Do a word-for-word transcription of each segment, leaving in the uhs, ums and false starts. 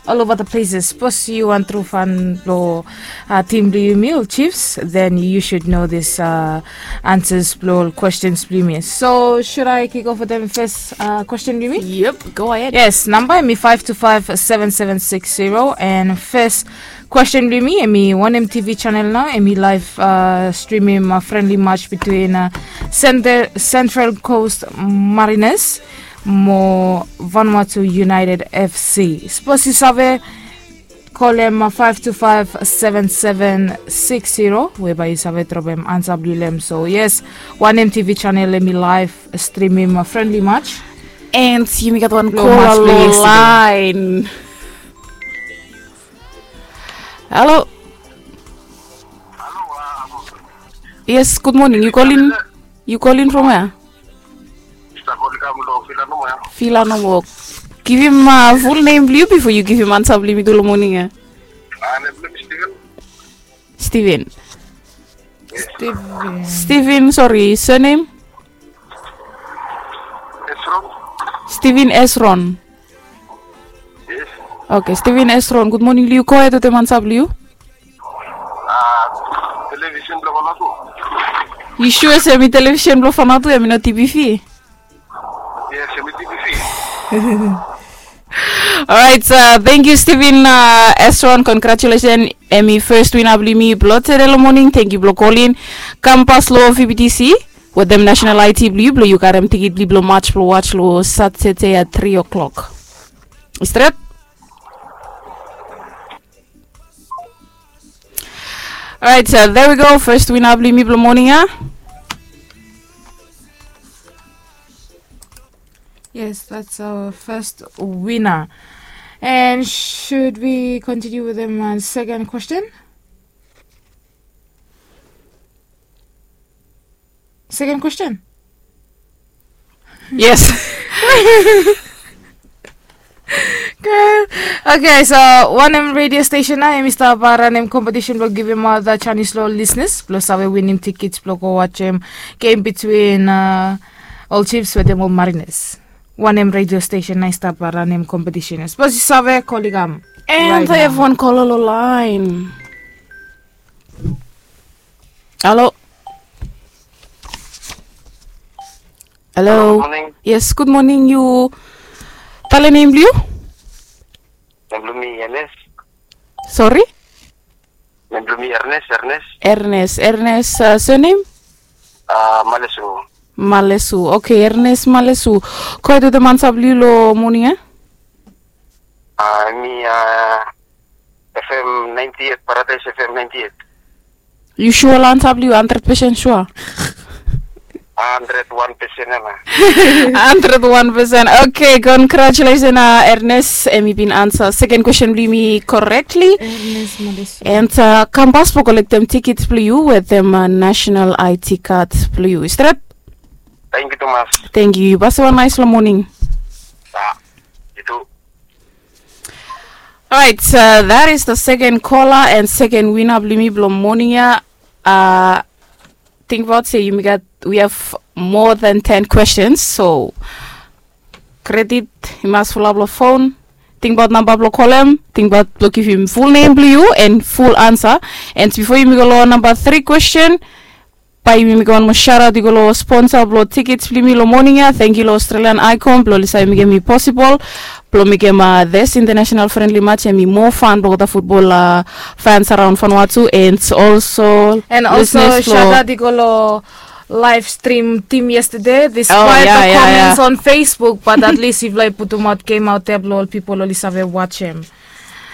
All over the places. Sapos yu wan tru fan blong uh, tim blong yumi ol chiefs, then you should know this uh, answers blong ol questions blong yumi. So should I kick off with them first uh, question blong yumi? Yep, go ahead. Yes, namba emi five two five seven seven six zero and first question blong yumi emi one M T V channel now emi live uh, streaming uh, friendly match between uh, Center, Central Coast Mariners mo Vanuatu United F C. Sapos yu save kolem five two five seven seven six zero we bae yu save dropem ansa blong yu long hem. So yes, one M T V channel emi live streaming friendly match. And yumi gat wan kola long lain. Halo. Yes, gud moning. Yu kolin, yu kolin from wea? Fila nomo. Givim uh, full name blong yu bifo yu givim ansa blong yumi tu long moning ya. Steven. Steven. Steven, sorry, surname? Esron. Steven Esron. Yes. Okay, Steven Esron, gud moning blong yu. Go ahead wetem ansa blong yu. Television blong Vanuatu. Yu sua se emi television blong Vanuatu, emi no T V V? Yes, emi T V V. Alright, uh, thank you Steven uh, Esron, congratulations. Emi first winner blong yumi blong tede long moning, thank you blong kolin. Kam pas long V B T C wetem national I T blong yu blong yu karem tikit blong yu blong match blong watch long Satade at three o'clock. Stret. Alright, so there we go. First winner blong yumi blong moning ya. Yes, that's our first winner. And should we continue with the uh, second question? Second question. Yes. Good. Okay, so one M radio station na emi stap uh, ranem competition blong givim uh, the Chinese law listeners blong save winim tikits blong go watch um, game between uh, all chiefs wetem all mariners. One M radio station na i stap uh, ranem competition. Suppose you save koligam. And right I have now. One call on the line. Hello. Hello. Hello, good morning. Yes, good morning. You tell a name, blong you? Nem blong mi Ernest. Sorry? Nem blong mi Ernest, Ernest. Ernest, Ernest, uh, surname? Uh, Malesu. Malesu. Okay, Ernest Malesu. Ko ito te mansa blong you lo morning, eh? Uh, mi uh, F M ninety-eight, Paradise F M ninety-eight. You sure lo ansa blong you, hundred percent sure? Hundred one percent ana. Hundred one percent. Okay, congratulations, uh, Ernest. Em i bin ansa second question blong yumi correctly. Ernest Malesu. And uh, kam pas blong kolektem tikits blong you wetem uh, national I T card blong you. Stret? Thank you, Thomas. Thank you. Pas wan nice lo morning. Ah, itu. Alright, so that is the second caller and second winner blong yumi blong morning ya. Uh, think about say yumi gat, we have more than ten questions, so credit i mas fulap lo phone. Think about namba blong kolem, think about blong givim full name blong you and full answer. And before yumi go lo namba three question, bae yumi mekem wan moa shout out i go lo sponsor blong tikits blong yumi lo morning ya. Thank you lo Australian Icon blong oli save mekem i possible blong mekem uh, this international friendly match em i moa fun blong olgeta football uh, fans around Vanuatu and also and also shout out i go lo live stream team yesterday despite oh, yeah, the yeah, comments yeah. On Facebook, but at least yufala i putum out game out there blong ol pipol oli save watch em.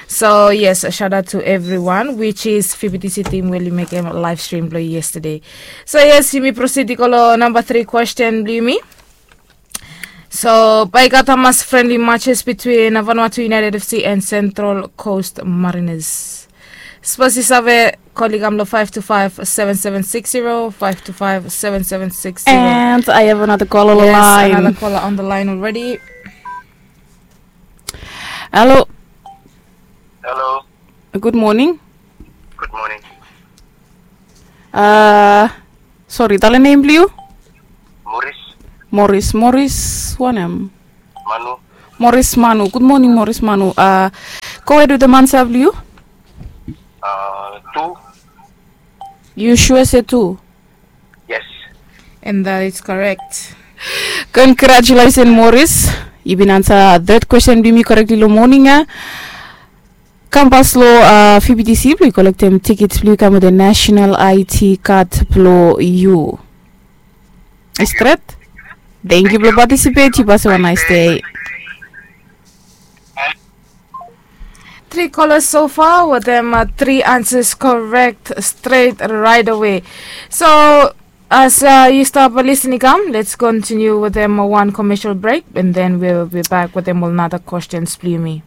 So yes, a shout out to everyone, which is F B T C team we oli mekem live stream blong yesterday. So yes, yumi proceed i go lo namba three question blong yumi. So bae i gat hamas friendly matches between Vanuatu United F C and Central Coast Mariners. Suppose you save, koligam lo five two five seven seven six zero, five two five seven seven six zero. And I have another call on the line. Yes, another caller on the line already. Hello. Hello. Good morning. Good morning. Uh, sorry, tell a name blong you? Morris. Morris, Morris, wanem? Manu. Morris Manu. Good morning, Morris Manu. Uh, Go ahead with the mansa blue. Uh, two. You sure say two? Yes. And that is correct. Congratulations, Morris. Yu bin ansa third question blong yumi correctly lo morning ya. Kam pas lo uh, F B T C blong yu kolektem tickets blong yu kam with the national I T card blong yu. Stret. Thank you blong participate. Yu pas have a nice day. Three callers so far with them uh, three answers correct straight right away. So as uh, you stop listening, come, let's continue with them uh, one commercial break, and then we'll be back with them with another questions, Blumi.